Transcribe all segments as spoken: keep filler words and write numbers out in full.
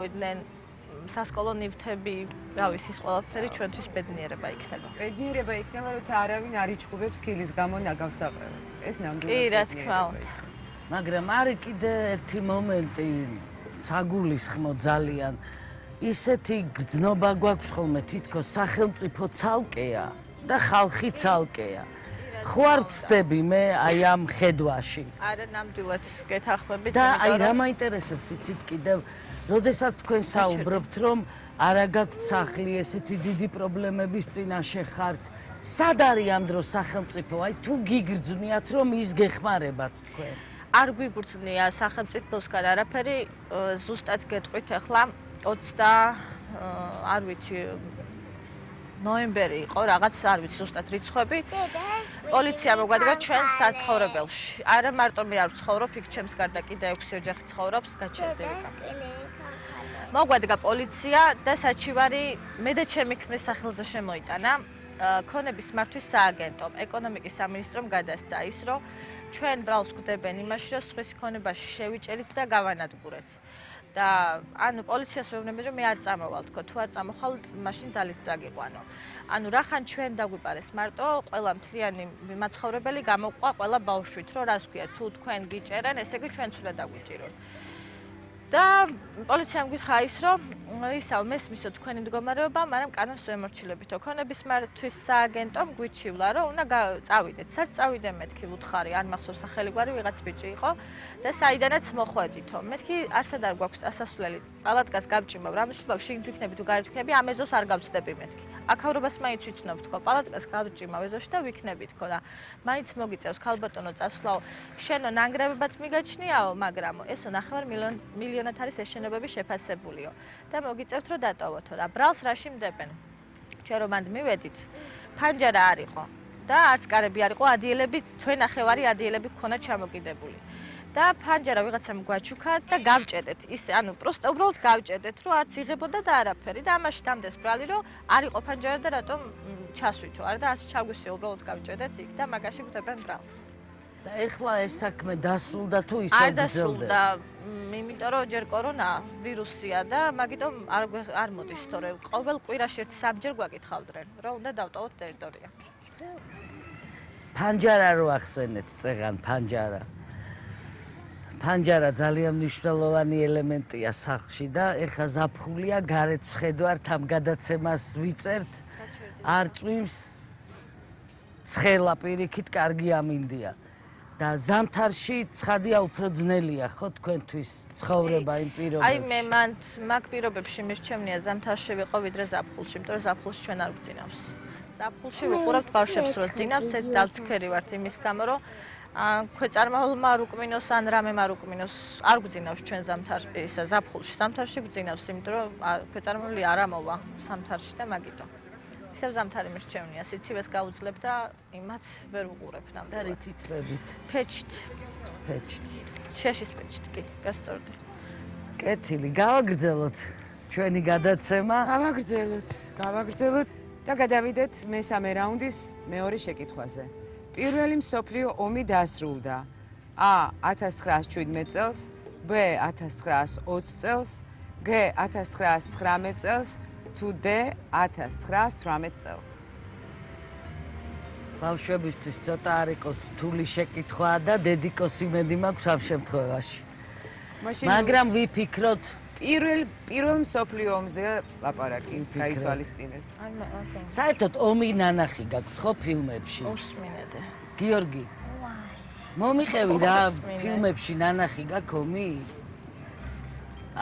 ვიდნენ სასკოლო ნივთები, რა ვიცი, ის ყველაფერი ჩვენთვის ბედნიერება იქნება. ბედნიერება იქნება, როცა არავინ არ იჩხუბებს ქილის გამო ნაგავს აყრევს. ეს ნამდვილად კი, რა თქმა უნდა. მაგრამ არის კიდე ერთი მომენტი საგულისხმო ძალიან. ისეთი გრძნობა გვაქვს ხოლმე თითქოს სახელმწიფო ცალკეა და ხალხი ცალკეა. ხო არ ვწდები მე აი ამ ხედვაში. არა, ნამდვილად გეთანხმებით, და აი რა მაინტერესებს იცით კიდევ, როდესაც თქვენ საუბრობთ, რომ არა გაქვთ სახლი, ესეთი დიდი პრობლემების წინაშე ხართ, სად არის ამ დროს სახელმწიფო? აი თუ გიგრძნიათ, რომ ის გეხმარებათ თქვენ. არ გვიგრძნია სახელმწიფოსგან არაფერი, ზუსტად გეტყვით ახლა ოცდა არ ვიცი ნოემბერი იყო, რაღაც არ ვიცი ზუსტად რიცხვები. პოლიცია მოგვადგა ჩვენ საცხოვრებელში. არა მარტო მე არ ვცხოვრობ, იქ ჩემს გარდა კიდე ექვსი ოჯახი ცხოვრობს, გაჩერდება. მოგვადგა პოლიცია და საჩივარი მე და ჩემი ქმრის სახელზე შემოიტანა. ქონების მართვის სააგენტომ, ეკონომიკის სამინისტრომ გადასცა ის, რომ ჩვენ ბრალს გვდებენ იმაში, რომ სხვის ქონებაში შევიჭერით და გავანადგურეთ. და ანუ პოლიციას ვეუბნები, რომ მე არ წამოვალ თქო, თუ არ წამოხვალ, მაშინ ძალით წაგიყვანო. ანუ რახან ჩვენ დაგვიპარეს მარტო, ყველა მთლიანი მაცხოვრებელი გამოყვა ყველა ბავშვით, რომ რას ქვია, თუ თქვენ გიჭერენ, ესე იგი ჩვენც უნდა დაგვიჭირონ. და პოლიციამ გითხრა ის, რომ ისაო მესმისო თქვენი მდგომარეობა, მაგრამ კანონს ვემორჩილებითო. ქონების მართვის სააგენტომ გვიჩივლა, რომ უნდა წავიდეთ. სად წავიდე მეთქი ვუთხარი, არ მახსოვს სახელი გვარი ვიღაც ბიჭი იყო და საიდანაც მოხვედითო. მეთქი არსად არ გვაქვს ასასვლელი. პალატკას გავჭიმავ, რამისვლაკ შიგნით ვიქნები თუ გარეთ ვიქნები, ამ ეზოს არ გავწდები მეთქი. აქაურობას მაინც ვიცნობ თქო, პალატკას გავჭიმავ ეზოში და ვიქნები თქო და მაინც მოგიწევს ქალბატონო წასვლაო. შენო ნანგრევებად მიგაჩნიაო, მაგრამ ესო ნახევარ მილიონად არის ეს შენობები შეფასებულიო. და მოგიწევთ რომ დატოვოთო და ბრალს რაში მდებენ. ჩვენ რომ მანდ მივედით, ფანჯარა არ იყო და არც კარები არ იყო, ადიელებით, თქვენ ნახევარი ადიელები გქონა ჩამოკიდებული. და ფანჯარა ვიღაცამ გვაჩუქა და გავჭედეთ. ის ანუ პროსტა უბრალოდ გავჭედეთ, რომ არც იღებოდა და არაფერი და ამაში დამდეს ბრალი, რომ არ იყო ფანჯარა და რატომ ჩასვითო, არა და არც ჩაგვისია, უბრალოდ გავჭედეთ იქ და მაგაში გვდებენ ბრალს. და ეხლა ეს საქმე დასრულდა თუ ისე არ დასრულდა, იმიტომ რომ ჯერ კორონა ვირუსია და მაგიტომ არ არ მოდის, თორე ყოველ კვირაში ერთი სამჯერ გვაკითხავდნენ, რომ უნდა დავტოვოთ ტერიტორია. ფანჯარა რო ახსენეთ, წეღან ფანჯარა. ფანჯარა ძალიან მნიშვნელოვანი ელემენტია სახლში და ეხლა ზაფხულია, გარეთ ვხედავთ, ამ გადაცემას ვიწერთ, არ წვიმს, ცხელა პირიქით კარგი ამინდია. და ზამთარში ცხადია უფრო ძნელია ხო თქვენთვის ცხოვრება იმ პირობებში? აი მე მან მაგ პირობებში მირჩევნია ზამთარში ვიყო ვიდრე ზაფხულში, იმიტომ რომ ზაფხულში ჩვენ არ გვძინავს. ზაფხულში ვუყურავთ ბავშვებს რომ ძინავს, ეს დავცქერი ვართ იმის გამო, რომ ქვეწარმავალმა არ უკმინოს ან რამემ არ უკმინოს, არ გვძინავს ჩვენ ზამთარში, ისა ზაფხულში. ზამთარში გვძინავს, იმიტომ რომ ქვეწარმავალი არ ამოვა ზამთარში და მაგიტომ. ისევ ზამთარი მირჩევნია, სიცივეს გაუძლებ და იმათ ვერ ვუყურებ ნამდვილად. და რითით ყვებით? ფეჩით. ფეჩით. შეშის ფეჩით, კი, გასწორდი. კეთილი, გავაგრძელოთ ჩვენი გადაცემა. გავაგრძელოთ, გავაგრძელოთ და გადავიდეთ მესამე რაუნდის მეორე შეკითხვაზე. პირველი მსოფლიო ომი დასრულდა. A ათას ცხრაას შვიდმეტ წელს, B ათას ცხრაას ოცი წელს, G ათას ცხრაას ცხრამეტ წელს, თუ D ათას ცხრაას თვრამეტ წელს. ბავშვებისთვის ცოტა არ იყოს რთული შეკითხვა და დედიკოს იმედი მაქვს ამ შემთხვევაში. მაგრამ ვიფიქროთ პირველ პირველ მსოფლიო ომზე ლაპარაკი გაითვალისწინეთ. საერთოდ ომი ნანახი გაქვთ ხო ფილმებში? უსმინეთე. გიორგი. მომიყევი რა ფილმებში ნანახი გაქვს ომი?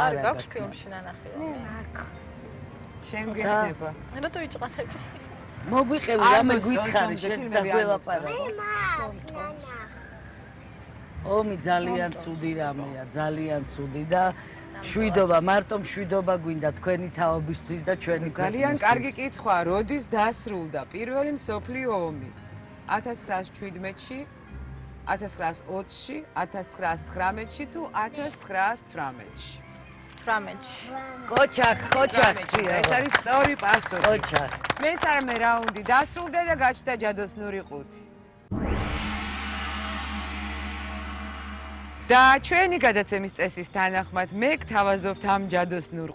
არ გაქვს ფილმში ნანახი ომი. შენ გიხდება. რატო იჭყანები? მოგვიყევი რამე გითხარი შენ და გველაპარაკე. ომი ძალიან ცუდი რამეა, ძალიან ცუდი და შვიდობა, მარტო შვიდობა გვინდა თქვენი თაობისთვის და ჩვენი ქვეყნისთვის. ძალიან კარგი კითხვა, როდის დასრულდა პირველი მსოფლიო ომი? ათას ცხრაას შვიდმეტში, ათას ცხრაას ოცში, ათას ცხრაას ცხრამეტში თუ ათას ცხრაას თვრამეტში? თვრამეტში. კოჩაკ, კოჩაკ. ეს არის სწორი პასუხი. კოჩაკ. მესამე რაუნდი დასრულდა და გაჩნდა ჯადოსნური ყუთი. და ჩვენი გადაცემის წესის თანახმად მე გთავაზობთ ამ ჯადოსნურ